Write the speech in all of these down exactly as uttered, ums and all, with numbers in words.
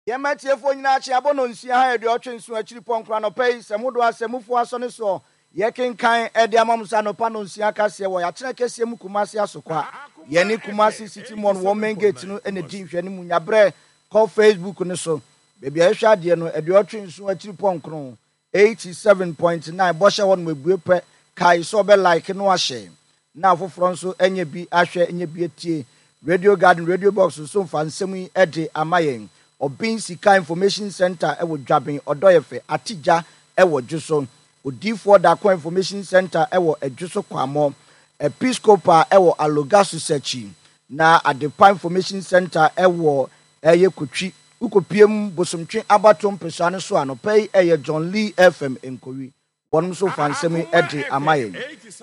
Yɛma atiefoɔ nyinaa akye abɔ nonsia ha aduɔtwe nson akyiri pɔnkoro anɔpa yi sɛ modo asɛmufoɔ asɔ ne soɔ yɛkenkan de ama mo sɛ anɔpa nonsia kaseɛ wɔ yɛakyerɛ kɛseɛ mu Kumase Asokwa. Yɛne Kumase City Mall wɔ main gate no na di nhwɛ no mu. Nyabrɛ kɔ Facebook no so baabi a yɛhwɛ adeɛ no aduɔtwe nson akyiri pɔnkoro eighty-seven point nine bɔhyɛ hɔ nom ebue pɛ kae sɛ ɔbɛ like no ahyɛ na afoforɔ nso anya bi ahwɛ anya bi atie. Radio Garden, Radio Box nso mfa nsɛm yi de ama yɛn. Ɔben Sika Information Center wɔ Dwaben Ɔdɔyɛfɛ Atigya wɔ Dwoso. Odiifoɔ Dako Information Center wɔ Adwoso Kwamɔ. Episcopal wɔ Alogasu Sakyi. Na Adepa Information Center wɔ ɛyɛ Kotwi. Wokɔpiem Bosomtwe abatoɔ mpesua no so anɔpa yi ɛyɛ John Lee F M Nkowi. Wɔn nso fa nsɛm yi de ama yɛn.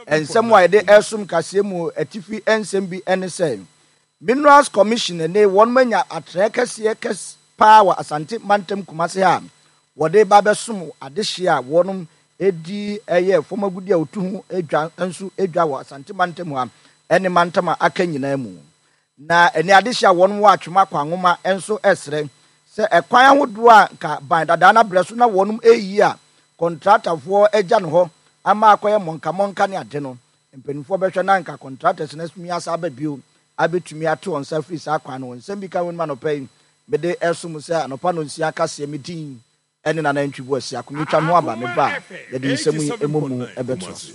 Nsɛm a yɛde ɛsom kaseɛ mu atifi nsɛm bi ne sɛ Minerals Commission ne wɔn manya atrɛ kɛseɛ kɛse paa wɔ Asante Mantam Kumase ha wɔde ba bɛsom adehye a wɔn edi ɛyɛ fam agudi a otu ho edwa nso edwa wɔ Asante Mantam ha ɛne mantam a aka nyinaa mu. Na ɛne adehye a wɔn wɔ atwema kwanwoma nso ɛsrɛ sɛ ɛkwan ahodoɔ a nka ban dadaa na brɛ so na wɔn eyi a kɔntratafoɔ agya no hɔ ama akɔyɛ mɔnkamɔnka ne ade no mpanimfoɔ bɛhwɛ na nka contractors na sumi asa aba bio abɛtumi ato wɔn nsa firi saa kwan no. Nsɛm bi ka wɔn mu anɔpa yi mede ɛsom sɛ anɔpa no nsia kaseɛ me din ɛne Nana Ntwi Boasi akometwa ho aba me ba yɛde nsɛm yi emu mu ɛbɛto so.